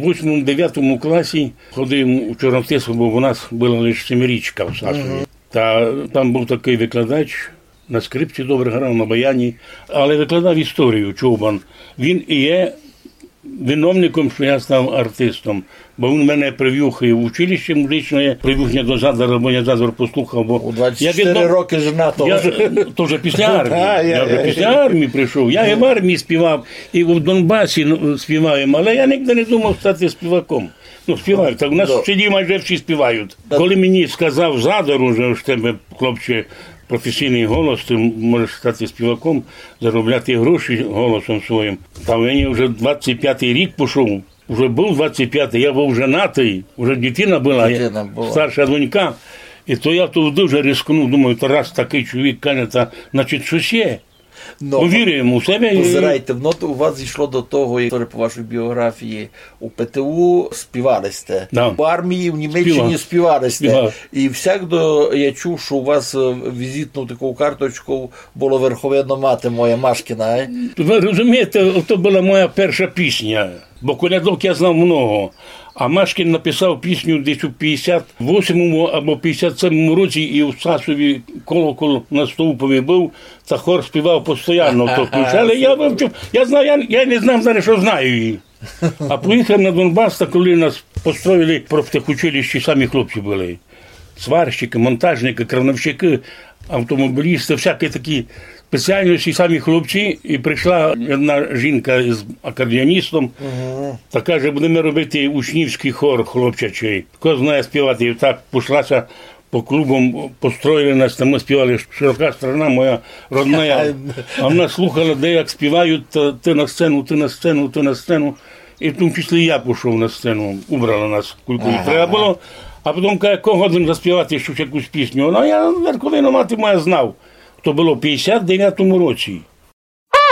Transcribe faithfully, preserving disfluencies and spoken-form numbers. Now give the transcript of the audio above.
У восьмому-девятому класі ходив у Чорнотису, бо у нас была лише семирічка в Сасові. Та там быв такый викладач, на скрипці добре грав, на баяні, але викладав історію, Чубан. Він і є виновником, што я став артистом. Бо він мене привів і в училище музичне, привів мене до Задара, бо я Задар послухав, бо У двадцять чотири роки женатого. Я, то вже після армії. Я вже після армії прийшов. Я і в армії співав, і в Донбасі, ну, співав, але я нігде не думав стати співаком. Ну, співають. Так у нас в селі майже всі співають. Коли мені сказав Задар уже, ож тебе, хлопче, професійный голос, ты можеш стати співаком, заробляти гроші голосом своїм. Та мені вже двадцять пятый рік пішов. Уже быв двадцять пятый, я быв женатый, уже дитина была, старша донька. І то я тут дуже рискнув, думаю, то раз такый чоловік каже, та, значить, штось є. Ну, повірив йому в себе і позирайте, воно то у вас зійшло до того, як по вашій біографії у П Т У співали сте. Да. У армії в Німеччині співали сте. Співав. І всякдо я чув, що у вас, е, візитну таку карточку було верховина мати моя Машкіна, е? Ви розумієте, то была моя перша пісня, бо колядок я знав много. А Машкін написав пісню десь у пятдесят восьмому або пятдесят семому році, і у Сасові колокол на стовпові быв, та хор співав постоянно, то включали. Я вивчив, я знаю, я, я не знав зараз, що знаю її. А поїхав на Донбас, та коли нас построїли, профтехучилищі, самі хлопці были. Сварщики, монтажники, крановщики, автомобілісты, всякі такі спеціальності, самі хлопці. І прийшла одна жінка з акордеоністом, та каже, будеме робити учнівськый хор хлопчачый. Хто знає співати? І так пішлася по клубам, построїли нас, там мы співали «Широка страна моя родная». А вона слухала, де як співають, та «ты на сцену, ты на сцену, ты на сцену». І в тому числі я пішов на сцену, убрала нас, кулько їй треба было. А потім каже, кого годен заспівати щось, якусь пісню? Ну, я «Верховину мати моя» знав. То было в пятдесят девятому році.